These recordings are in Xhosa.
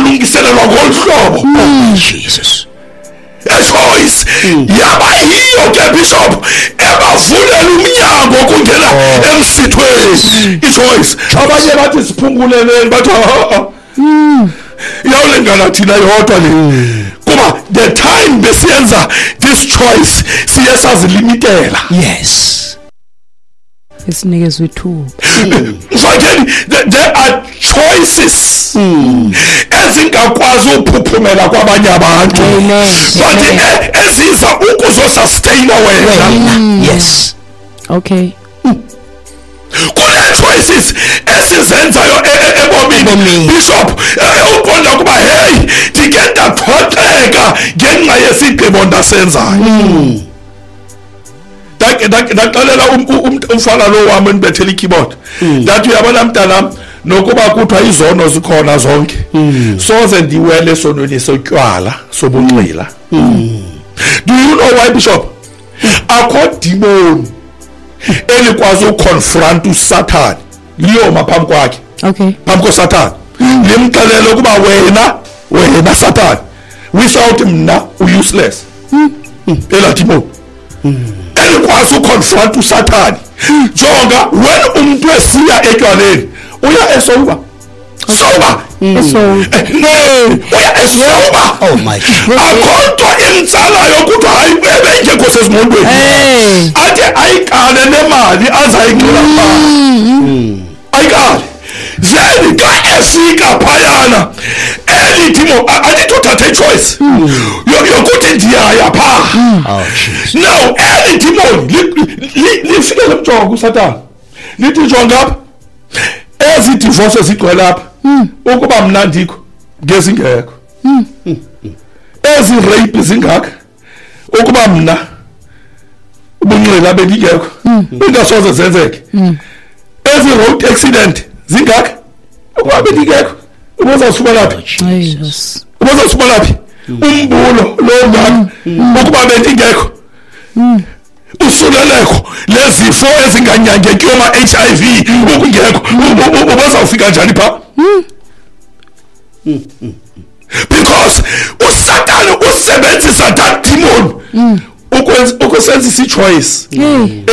Uzawulungiselelwa ngolu hlobo. Jesus. A choice yaba yiyo ke, bishop, ebavulela umnyango kungena emsithweni. I-choice. Abanye bathi siphunguleleni, bathi ha iyawulingana thina yodwa le, kuba the time besiyenza this choice siye sazilimitela. Esinikezwe ithuba. Mfakeni, there are choices ezingakwazi uphuphumela kwabanye abantu, but eziza ukuzosustaina wena. Wena. Yes. Kune choices esizenzayo ebomini, Ebomini. bishop, uqonda ukuba hey, ndike ndaphoxeka ngenxa yesigqibo ndasenzayo. Ndaxelela umfana lo wam endibethela i-keyboard, ndathi uyabona mntanam, nokuba kuthiwa izono zikhona zonke, soze ndiwele esonweni sotywala, sobunxila. Do you know why, bishop? Akho demon elikwazi uconfront uSathane, liyoma phambi kwakhe, phambi koSathane, limxelele ukuba wena, wena Sathane, without mna useless. Elaa demon elikwazi uconfront uSathane. Jonga, when umntu esiya etywaleni, uya esober, sober. So Uya esober. Oh my God. Akho nto imtsalayo kuthiwa hayi, ebengekho sezingqondweni, Hey. athi ayikale le mali azayingxila phaa, ayikale. Then xa efika phayana, eli demon andithi uthathe ichoice yokuthi ndiyaya phaa. Oh Jesus. Now eli demon lifike limjonga uSathane, lithi jonga apha, ezi divorce zigcwele apha, ukuba mna ndikho ngezingekho. Ezi rape zingaka, ukuba mna ubunxila bendingekho, bengasoze zenzeke. Ezi road accident zingaka, ukuba bendingekho, ubuzawusifumana phi? Jesus. Ubuzawusifumana phi umbulo lo ngaka ukuba bendingekho? Usuleleko lezifo ezinganyangekiyo, ma-HIV, ukungekho, ubuzawufika njani phaa? Because uSatane usebenzisa that demon ukusenzisa i-choice Hey.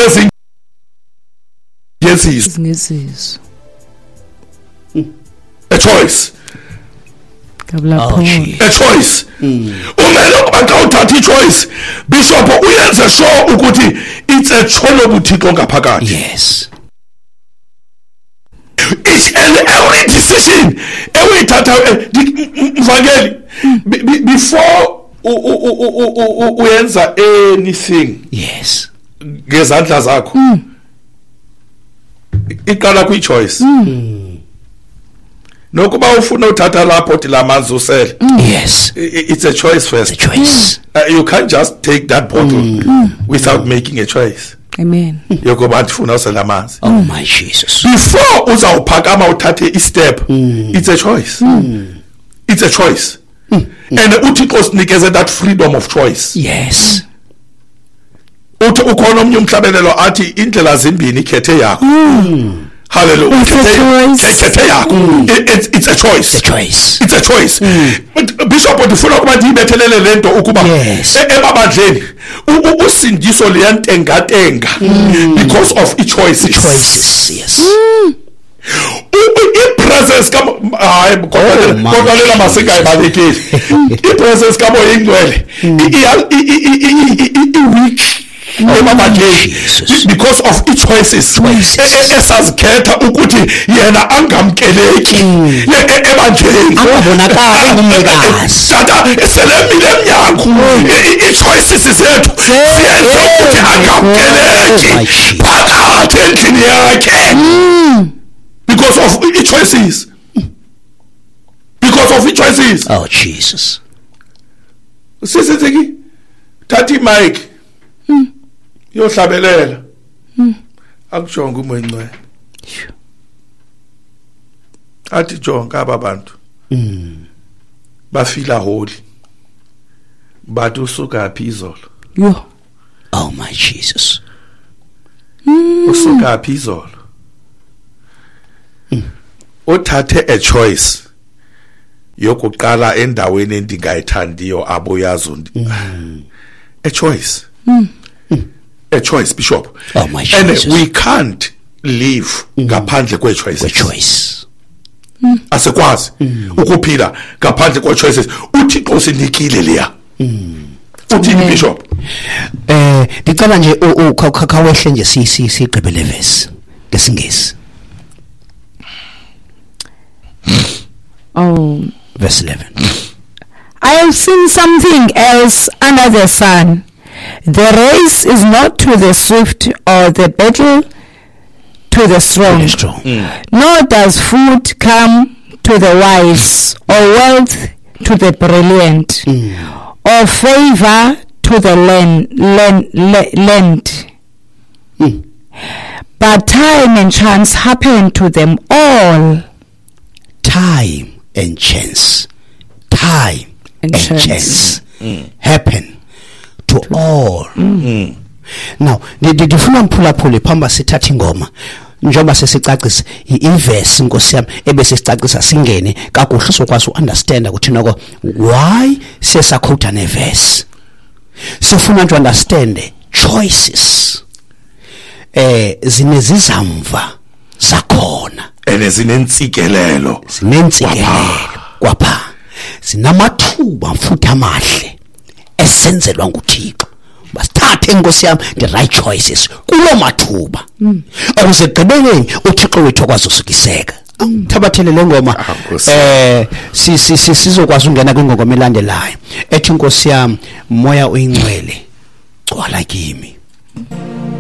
ezingezizo. Ezingezizo. A choice. Kabla Oh Paul. Jesus. A choice. Umele ukuba xa uthatha i-choice, bishop, uyenze sure ukuthi it's a choice ngaphakathi. Each and every decision ewuyithatha, mvangeli, before uyenza anything ngezandla zakho, iqala kwi-choice. Nokuba ufuna uthatha lapho lamanzi usele, it's a choice first. The choice. You can't just take that bottle without making a choice Amen. yokuba ndifuna usela amanzi. Oh my Jesus. Before uzawuphakama uthathe istep, it's a choice. It's a choice. And uThixo sinikeze that freedom of choice. Uthi ukhona omnye umhlabelelo athi indlela zimbini, khethe yakho. Hallelujah. It's a choice. Khethe yakho. It's a choice. The choice. It's a choice. But bishop, ndifuna ukuba ndiyibethelele le nto ukuba emabandleni usindiso liyantengatenga because of i-choices. Choices. Yes. I-presence hayi, Oh, my kodwa lela Jesus. masingayibalekeli. I-presence kaMoya ingcwele i-weak emabandleni Jesus. because of i-choices Choices. esazikhetha ukuthi yena angamkeleki ebandleni. Angabonakali engumnikazi. Tata selemile emnyango. I-choices zethu ziyenza ukuthi Oh my angamkeleki Jesus. phakathi endlini yakhe because of i-choices, because of i-choices. Oh Jesus. Sisithi thatha imic yohlabelela, akujonge uMoya Ingcwele, athi jonga aba bantu bafila holy, bathi usuka phi izolo? Yo. Oh my Jesus. Usuka phi izolo? Uthathe a choice. Yokuqala endaweni endingayithandiyo abuyazi a choice. A choice, Bishop. Oh, my And Jesus. we can't live ngaphandle kwe-choices. Choice. Asikwazi ukuphila ngaphandle kwe-choices. UThixo usinikile leya. Uthini, Bishop? Ndicela nje khawehle nje sigqibe le verse ngesingesi. Oh. Verse 11. I have seen something else under the sun. The race is not to the swift or the battle to the strong. The strong. Nor does food come to the wise, or wealth to the brilliant, or favor to the learned. But time and chance happen to them all. Time and chance. Time And and chance. chance happen to all. Now, ndifuna mphulaphule phambi sithathe ingoma. Njengoba sesicacisa ivesi, Nkosi yami, ebese sicacisa singene kakuhle sokwazi uunderstand ukuthi noko why siyesakhotha nevesi. Sifuna nje understand choices. Zinezizamva zakhona. And zinentsikelelo. Zinentsikelelo kwapha, zinamathuba futhi amahle esenzelwa nguThixo. Basithathe, Nkosi yami, the right choices kulo mathuba ukuze ekugqibeleni uThixo wethu akwazi usukiseka. Thabathele le ngoma. Ah, Nkosi. Sizokwazi ungena kwingoma elandelayo ethi, Nkosi yami, moya uyingcwele gcwala kimi.